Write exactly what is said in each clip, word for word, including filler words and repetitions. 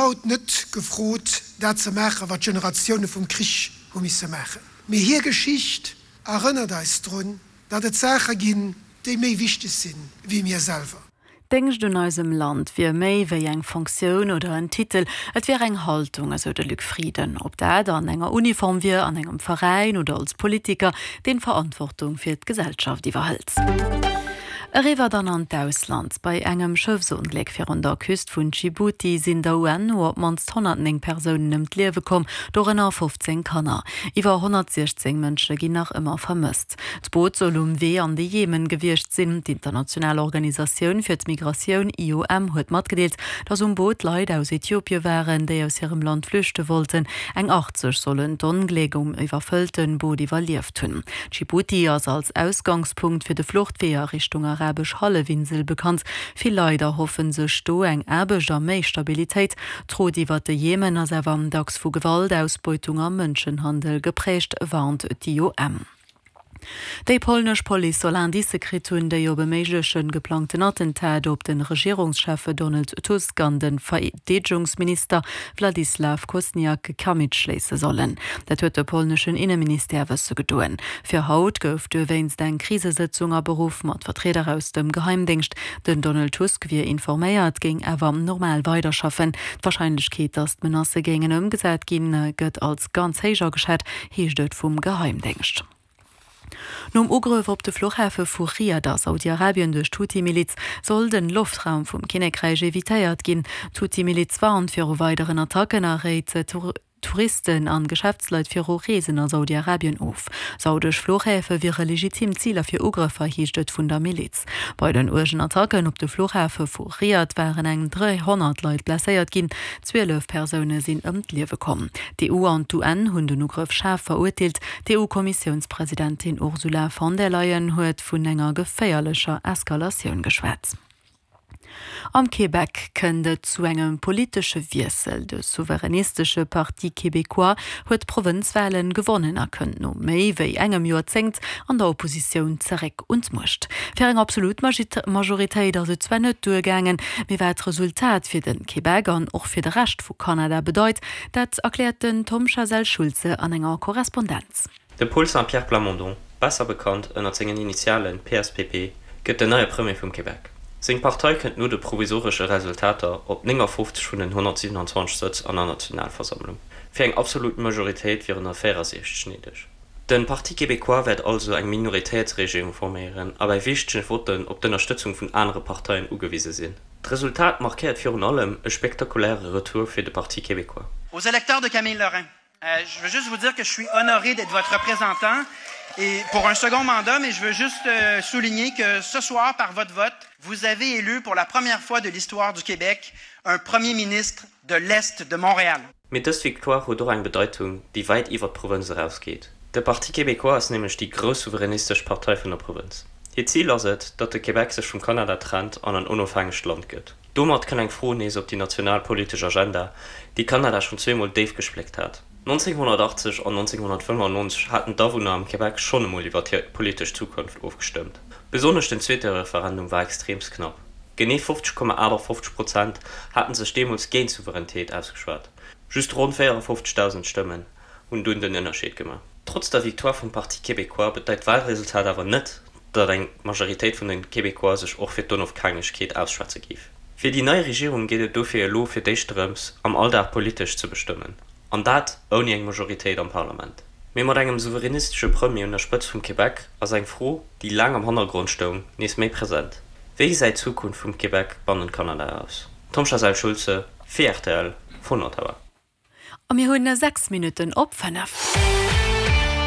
haut net gefrot, dat ze maachen, wat d'Generatioune vum Krich hu misse maachen. Mee hir Geschicht erënnert eis drun, datt et Saache ginn, déi méi wichteg sinn wéi mir selwer. Déngscht un eisem Land wier méi wéi eng Fonctioun oder en Titel, et wier eng Haltung, esou de Luc Frieden. Ob dat an enger Uniform wier, an engem Veräin oder als Politiker, deen Verantwortung fir d'Gesellschaft iwwerhëlt. Eriwwer dann an d'Ausland. Bei engem Schëffsongléck virun der Küst vun Dschibuti sinn der U N no op d'mannst honnertnéng Persounen ëm d'Liewe komm, dorënner fofzéng Kanner. Iwwer honnertsiechzéng Mënsche ginn nach ëmmer vermësst. D'Boot soll um Wee an de Jemen gewiescht sinn. D'International Organisatioun fir d'Migratioun, I O M, huet matgedeelt, datt um Boot Leit aus Äthiopie waren, déi aus hirem Land flüchte wollten. Eng achtzeg sollen d'Ongléck um iwwerfëllte Boot iwwerlieft hunn. Dschibuti ass als Ausgangspunkt fir de Fluchtwee a Richtung Arabesch Hallefinsel bekannt. Vill Leit erhoffe sech do eng Aarbecht a méi Stabilitéit. D'Route iwwer de Jemen ass awer dacks vu Gewalt, Ausbeutung a Mënschenhandel geprägt, warnt d'I O M. Déi polnesch Police soll Indicë kritt hunn, déi op e méigleche geplangten Attentat op de Regierungschef Donald Tusk an de Verdeedegungsminister Wladyslaw Kosniak-Kamysz schléisse sollen. Dat huet de polneschen Inneministère wësse gedoen. Fir haut gouf dowéinst eng Krisesëtzung aberuff mat Vertrieder aus dem Geheimdéngscht. Den Donald Tusk wier informéiert, géing awer normal weiderschaffen. D'Warscheinlechkeet, datt d'Menacë géingen ëmgesat ginn, gëtt als ganz héich ageschat, heescht et vum Geheimdéngscht. Nom Ugrëff op de Fluchhafe vu Riad a Saudi-Arabien duerch d'Huthi-Miliz soll den Loftraum vum Kinnekräich evitéiert ginn. D'Huthi-Miliz warnt viru weideren Attacken a réit Touristen an Geschäftsleit viru Reesen a Saudi-Arabien of. Saudesch Fluchhäfe wiere legitim Ziler fir Ugrëffer, heescht et vun der Miliz. Bei den uergen Attacken op de Fluchhafe vu Riad waren eng dräihonnert Leit blesséiert ginn. Zwielef Persoune sinn ëm d'Liewe komm. D'E U an d'U N hunn den Ugrëff schaarf verurteelt. D'E U-Kommissiounspresidentin Ursula von der Leyen huet vun enger geféierlecher Eskalatioun geschwat. Am Québec kënnt et zu engem politesche Wiessel. De souveränistesche Parti Québécois huet d'Provënzwalen gewonnen a kënnt no méi wéi engem Joerzéngt an der Oppositioun zeréck un d'Muecht. Fir eng absolut Majoritéit ass et zwar net duergaangen, mee wat d'Resultat fir den Québec an och fir de Rescht vu Kanada bedeit, dat erkläert den Tom Chazal-Schulze an enger Korrespondenz. De Paul Saint-Pierre Plamondon, besser bekannt ënner sengen Initialen P S P P, gëtt den neie Premier vum Québec. Seng Partei kënnt no de provisoresche Resultater op neunundfünfzig vun den hundertsiebenundzwanzig Sëtz an der Nationalversammlung. Fir eng absolut Majoritéit wieren der vierundsechzig néideg. Den Parti Québécois wäert also eng Minoritéitsregierung forméieren a bei wichtege Votten op d'Ënnerstëtzung vun anere Parteien ugewise sinn. D'Resultat markéiert virun allem e spektakuläre Retour fir de Parti Québécois. Aux électeurs de Camille Lorrain, euh, je veux juste vous dire que je suis honoré d'être votre représentant et pour un second mandat, mais je veux juste, euh, souligner que ce soir, par votre vote, vous avez élu pour la première fois de l'histoire du Québec un premier ministre de l'Est de Montréal. Mee dës Victoire huet och eng Bedeitung, déi wäit iwwer d'Provënz erausgeet. De Parti Québécois ass nämlech déi grouss souveränistesch Partei vun der Provënz. Hiert Zil ass et, datt de Québec sech vum Kanada trennt an en onofhängegt Land gëtt. Domat kënnt eng Fro nees op déi nationalpolitesch Agenda, déi Kanada schonn zweemol déif gespléckt hat. neunzehnhundertachtzig an neunzehnhundertfünfundneunzig haten d'Awunner am Québec schonn emol iwwer hir politesch Zukunft ofgestëmmt. Besonnesch den zweete Referendum war extreemst knapp. Genee fünfzig Komma achtundfünfzig Prozent haten sech deemools géint Souveränitéit ausgeschwat. Just rund vierundfünfzigtausend Stëmmen hunn dunn den Ënnerscheed gemaach. Trotz der Victoire vum Parti Québécois bedeit d'Wahlresultat awer net, datt eng Majoritéit vun den Québécois sech och fir d'Onofhängegkeet ausschwätze géif. Fir déi nei Regierung geet et dofir elo fir d'éischt drëms, am Alldag politesch ze bestëmmen. An dat ouni eng Majoritéit am Parlament. Mee mat engem souveränistesche Premier un der Spëtzt vum Québec ass eng Fro, déi laang am Hannergrond stoung, nees méi present. Wéi gesäit d'Zukunft vum Québec bannent Kanada aus? Tom Chazal-Schulze, fir R T L, vun Ottawa. A mir hunn sechs Minutten op fënnef.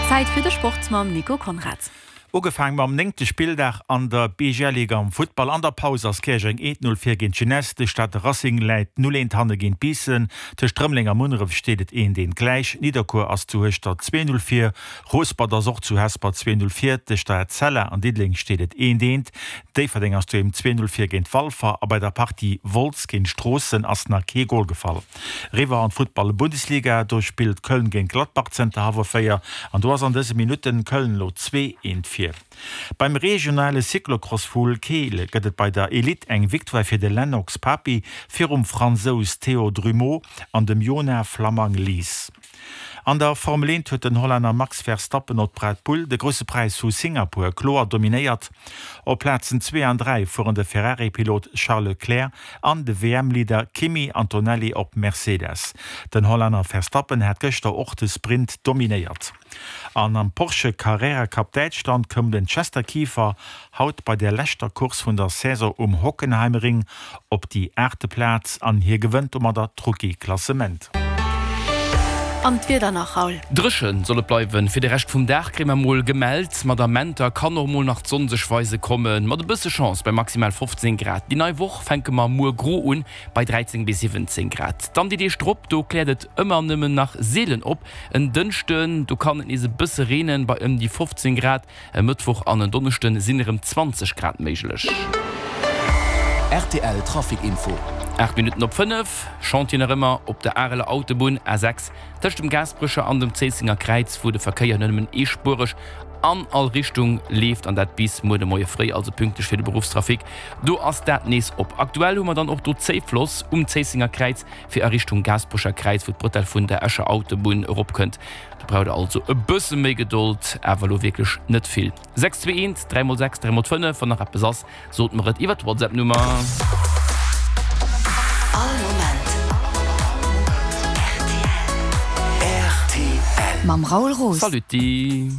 Zäit fir de Sport mam Nico Konrad. Ugefaangen mam néngte Spilldag an der B G L-Liga am Futtball. An der Paus ass Käerjeng eent null vir géint Jeunesse. De Stater Racing läit null eent hanne géint Biissen. Tëscht Rëmeleng a Munneref steet et eent eent gläich. Nidderkuer ass zu Hueschtert zwee null vir. Rouspert ass och zu Hesper zwee null vir. Tëscht der Etzella an Diddeleng steet et eent eent. Déifferdeng ass doheem zwee null vir géint Walfer. A bei der Partie Wolz géint Stroossen ass nach kee Gol gefall. Riwwer an d'Futtball-Bundesliga, do spillt Köln géint Gladbach zënter hallwer véier. An do ass an dëse Minutten Köln lo zwee eent vir. hier. Beim regionale Cyclocross vu Keel gëtt et bei der Elite eng Victoire fir de Lennox Papi virum Fransous Théo Drumeau an dem Jonah Flammang Lies. An der Formel eent huet den Hollänner Max Verstappen op Red Bull de Grousse Präis vu Singapur kloer dominéiert. Op Plazen zwee an dräi fueren de Ferrari-Pilot Charles Leclerc an de W M-Leader Kimi Antonelli op Mercedes. Den Hollänner Verstappen hat gëschter och de Sprint dominéiert. An am Porsche Carrera Cup Däitschland koum den Chester Kieffer haut bei der leschter Course vun der Saison um Hockenheimring op déi aachte Plaz an hie gewënnt domadder d'Rookie-Klassement. An d'Wieder nach, Raoul. Dréche soll et bleiwen, fir de Rescht vum Dag kréie mer mol gemellt. Mat Amenter kann och mol nach d'Sonn sech weise kommen, mat e bësse Chance bei maximal fofzéng Grad. Déi nei Woch fänke mer muer gro un bei dräizéng bis siwwenzéng Grad. Dann déi Deeg drop, do kläert et ëmmer nëmmen nach seelen op. En Dënschden, do kann et nees e bësse reenen bei ëm déi fofzéng Grad. E Mëttwoch an en Donneschden sinn erëm zwanzeg Grad méiglech. Rtl Trafic Info. Aacht Minutten op fënnef, Chantier nach ëmmer op der Areler Autobunn A sechs tëscht dem Gaasperecher an dem Zéissenger Kräiz, wou de Verkéier nëmmen eespuereg an all Richtung leeft an dat bis muer de Moie fréi, also pünktlech fir de Beruffstrafic. Do ass dat nees op. Aktuell hu mer dann och do Zéifloss um Zéissenger Kräiz fir a Richtung Gaasperecher Kräiz, wou d'Bretelle vun der Escher Autobunn eropkënnt. Do braucht der also e bësse méi Gedold, awer elo wierklech net vill. Sechs zwee eent, dräi mol sechs, dräi mol fënnef, wann nach eppes ass, sot mer et iwwer d'Whatsapp-Nummer. All Moment rtl. Mam Raoul Roos. Saluti.